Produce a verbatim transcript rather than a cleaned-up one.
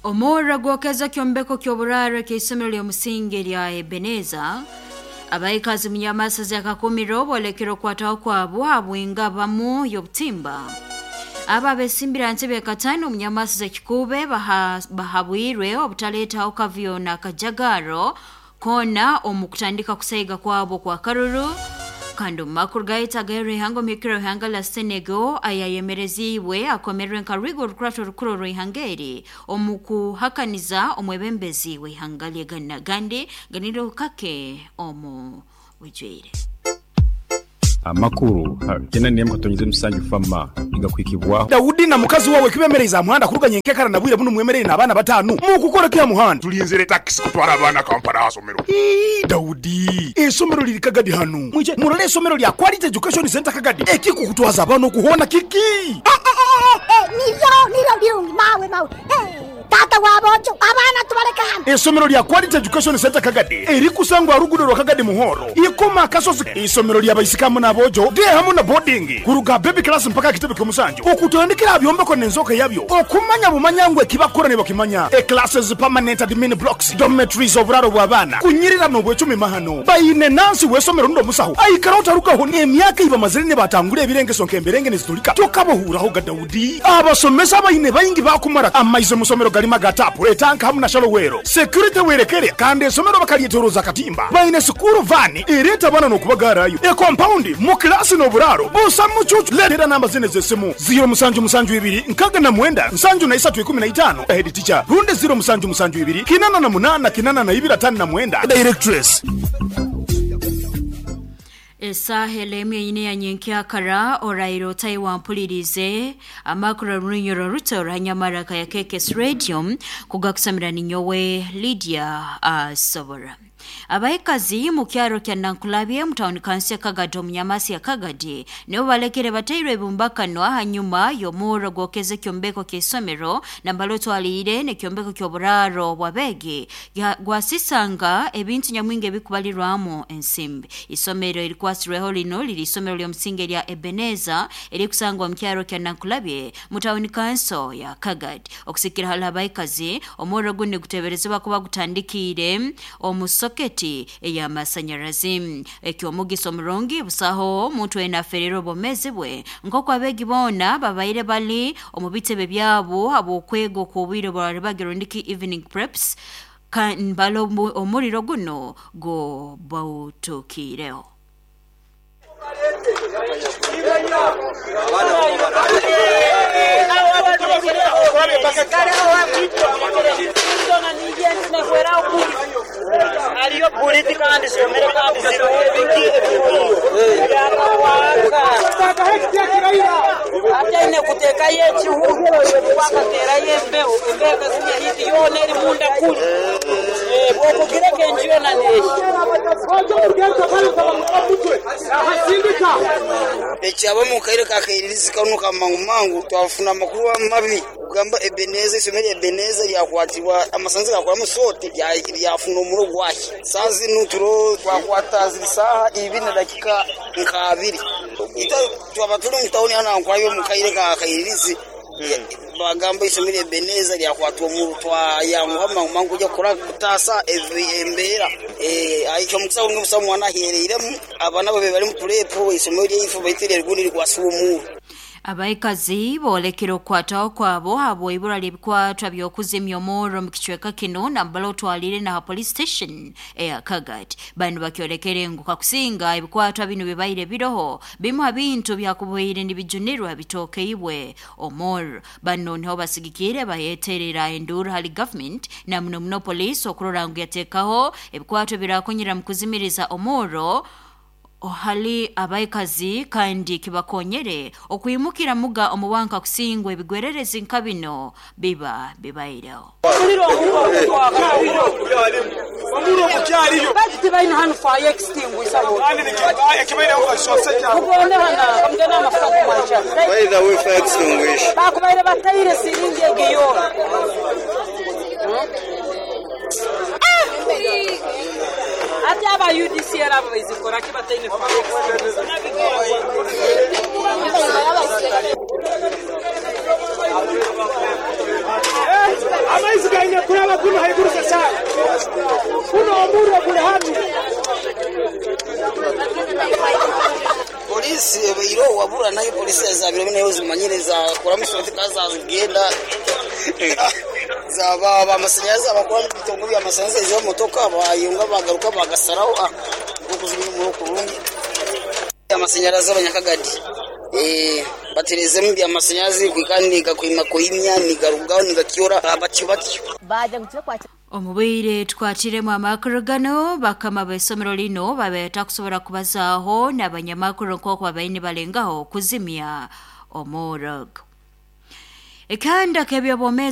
Omurro gwokeza kyombeko ky'oburaro ky'isomero ly'omusingi lya Ebeneza. Abaikazi munyamasazi akakumiro bolekera okwataho kwabo habwinga bamu y'obutimba. Aba abesimbira ntebe katano omunyamasazi ekikube baha, bahabwirwe obutaleetaho kavuyo na kajagaro koona omu kutandika kusaiga kwabo kwa karuru. Kandi omu makuru gaitu ag'erihanga omuhikiro w'ihanga lya Senegal ayayemereziibwe akomerwe nka rwigo orukurato orukuru orw'ihanga eri omu kuhakaniza omwebembezi w'ihanga lye Ghana gandi ganiro kake omu bwijwire. Amakuru tena nemu katonyize musanju fama igakwikibwaho. Daudi na mukazi wawe kibemereza muhanda kuruganya enkekara na bwire buno mwemerere n'abaana batanu mukukora kya muhanda. Tulinzire taxi kutwara abaana Kampala asomero. Ii, Daudi esomero liri Kagadi hanu mwije murole esomero lya Quality Education Center Kagadi ekikukutwaza abaana okuhona kiki. Eh, eh, eh, eh, niryo niryo birungi mawe mawe. Eh, tata wabojo abaana tubaleka hano. Esomero lya Quality Education Center Kagadi erikusangwa rugudo rwa Kagadi Muhoro ikoma kasozi. Isomero lya baisikamu n'abojo de hamu na boarding kuruga baby class mpaka kitebe ky'omusanju okutandikira byombeko n'enzoka yabyo okumanya bumanyangwe kibakora ne bakimanya. E classes permanent admin blocks dormitories oburaro bw'abaana kunyirira n'obwecumi mahano bayine nansi w'esomero ndo musaho aikara otarukaho n'emyaka ibamazire ne batangura ebirengeso nk'emberenge nezitulika tokabahuuraho ga Daudi. Abasomesa bayine bayingi bakumara amaize musomero galima gatapu etanka hamu na shalowero security werekere kandi esomero bakalyetoroza katimba bayine sukuru vani ereta bana n'okubagarayo e compound mu klasi n'oburaro busa mucucu. Letera namba zine z'essimu ziro musanju musanju ibiri nkaga na mwenda nsanju na isatu ikumi na itano head teacher runde ziro musanju musanju ibiri kinana na munana kinana na ibiri atano na mwenda directress. Esaha emu ine ya nyenkyakara orairo taiwampulirize amakuru runyoro ruto ranyamaraka ya K K S Radio kugakusamira ninyowe Lydia Asobora. Abaikazi mu kyaro kya Nankulabye mu town council Kagadi omunyamasi ya Kagadi nibo balekere batairwe ebumbakanwa hanyuma y'omurro gwokeze kyombeko ky'isomero nambalo twalire n'ekyombeko ky'oburaro bw'abeegi gwasisanga ebintu nyamwingi ebikubalirwamu ensimbi. Isomero erikwasirweho lino liri isomero ly'omusingi lya Ebeneza erikusangwa mu kyaro kya Nankulabye mu town council ya Kagadi. Okusikira hali abaikazi omurro guno guteberezebwa kuba gutandikiire omu soketi ey'amasanyarazi. Ekyomugiso omurungi busaho omuntu enaferera obwomezi bwe nk'oku abeegi boona babaire bali omu bitebe byabo habw'okwega okw'obwire bwaribagiro ndiki evening preps mbalo omuriro guno go bawutukiireho. Ekyaba mu kaire kakairirizi kano ka mangu mangu twafuna amakuru mabi kugamba Ebeneza isomero Ebeneza lyakwatibwa amasanzi gakora sote lyafuna omuro gwaki sazi nuturo twakwata ziri saha ibiri na dakika nkabiri ita twaba turi mu tawuni hano nkwayo mu kaire kakairirizi bagamba isomero Ebeneza lyakwatwa omuro twayanguha mangu mangu kujya kura kutasa embeera eh aicho mukisa unge musa mwana ahereiremu abana babe bari mu purepo isomero lyaifu baitirere rigundi rikwasiwa omuro. Abaikazi bolekera okwataho kwabo habwa ibura ly'ebikwatwa by'okuzimya omurro mu kicweka kino nambala otwalire na police station eya Kagadi. Bano bakyolekere ngu kakusinga ebikwatwa bino bibaire biroho bimu bintu byakuboire nibijunirwa bitokeibwe omurro. Bano niho basigikire bayeterera enduru hali government na muno muno police okurora ngu yateekaho ebikwatwa birakonyera mu kuzimiriza omurro ohali abaikazi kandi kibakonyere okwimukira muga omuwanka kusingwa ebigwererezi nka bino biba bibaireho. Ati aba U D C L abo bazikora ki bataine Amaizi Wabura nayo polisi zabiro nayo zimanyire zakora musoti kazazigenda zaba bamasanyarazi abakora bitongo by'amasanyarazi izo motoka bayunga bagaruka bagasaraho ah kuzimya umuriro kurungi amasanyarazi abanyakagadi eh baterezemu by'amasanyarazi kwikandi gakwima kuimya nigarugaho nigakyora batyo batyo Omubwire twatiremu amakuru gano bakama b'essomero lino babeeta kusobola kubazaaho n'abanyamakuru nk'oku babaire nibalengaho kuzimya omuriro. Ekanda k'ebyobwomeezi.